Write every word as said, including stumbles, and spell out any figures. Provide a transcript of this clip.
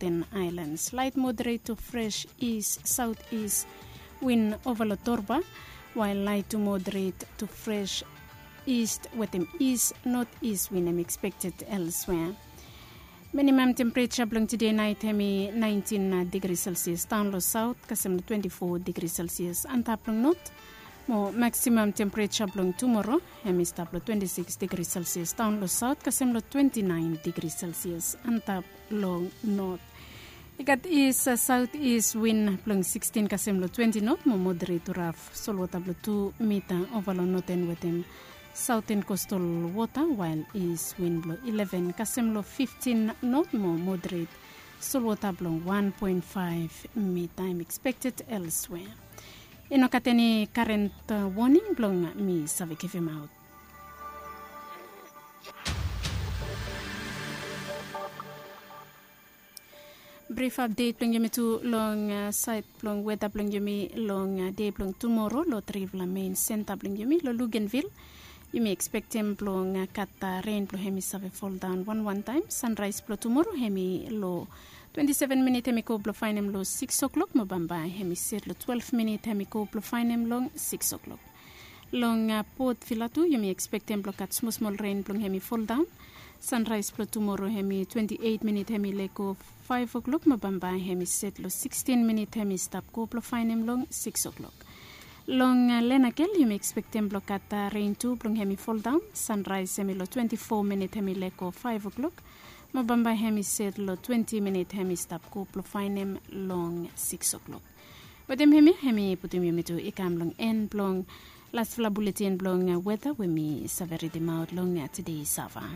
Northern Islands. Light moderate to fresh east southeast wind over lo Torba, while light to moderate to fresh east wetem east northeast wind em expected elsewhere. Minimum temperature blong today night hemi nineteen degree Celsius down lo south, kasem lo twenty-four degree Celsius antap long north. Mo maximum temperature blong tomorrow hemi stap lo twenty-six degree Celsius down lo south, kasem lo twenty-nine degree Celsius antap long north. I gat east southeast wind blong sixteen kasem lo twenty knot mo moderate to rough solwota blong two mita ova long northern wetem southern coastal water, while east wind blong eleven kasem lo fifteen knot mo moderate solwota blong one point five mita em expected elsewhere. I no gat eni current warning blong mi save givim aut. Brif apdet blong yumi tu long saed blong weta blong yumi long de blong tumoro lo trifala mein senta blong yumi lo Luganvil. Yumi ekspektem blong gat ren blong hem i save foldaon wanwan taem. Sanraes blong tumoro hem i lo twenti seven minit hem i go blong faenem lo sikis oklok mo bambae hem i set lo twelve minit hem i go blong faenem long sikis oklok. Long Port Vila tu yumi ekspektem blong gat smosmol ren blong hem i foldaon. Sanraes blong tumoro hem i twenti eit minit hem i lego faef oklok mo bambae hem i set lo sikstin minit hem i stap go blong faenem long sikis oklok. Long Lenakel yumi ekspektem blong gat ren tu blong hem i foldaon. Sanraes hem i lo twenti fo minit hem i lego faef oklok mo bambae hem i set lo twenti minit hem i stap go blong faenem long sikis oklok. Wetem hemia hem i putum yumi tu i kam long en blong lasfala buletin blong weta we mi save ridimaot long tede sava.